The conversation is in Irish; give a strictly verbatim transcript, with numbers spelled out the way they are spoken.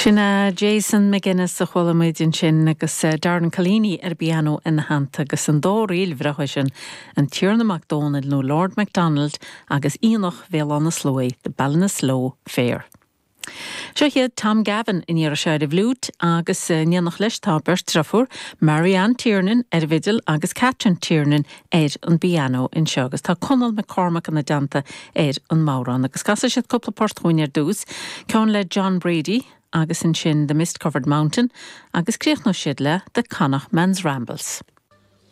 Sin é Jason McGuinness a chuala muid ansin agus eh, Darren Collini ar piano ina theannta agus an dá ríl bhreá sin an Tiarna Mac Dónaill nó Lord MacDonald agus Aonach Bhéal Átha na Sluaighe, the Ballinasloe Fair. Seo hiad Tom Gavin in iar sé a bhlút agus eh, néanach leis tá beirt deirfiúr Marianne Tiernan ar an bhfidil agus Catherine Tiernan ar an bpianó anseo agus tá Conall McCormack ina dteannta ar an mbodhrán agus casfaidh siad cúpla port dúinn ar dtús, ceann le John Brady agus ansin The Mist Covered Mountain agus críochnóidh siad le The Connachtman's Rambles.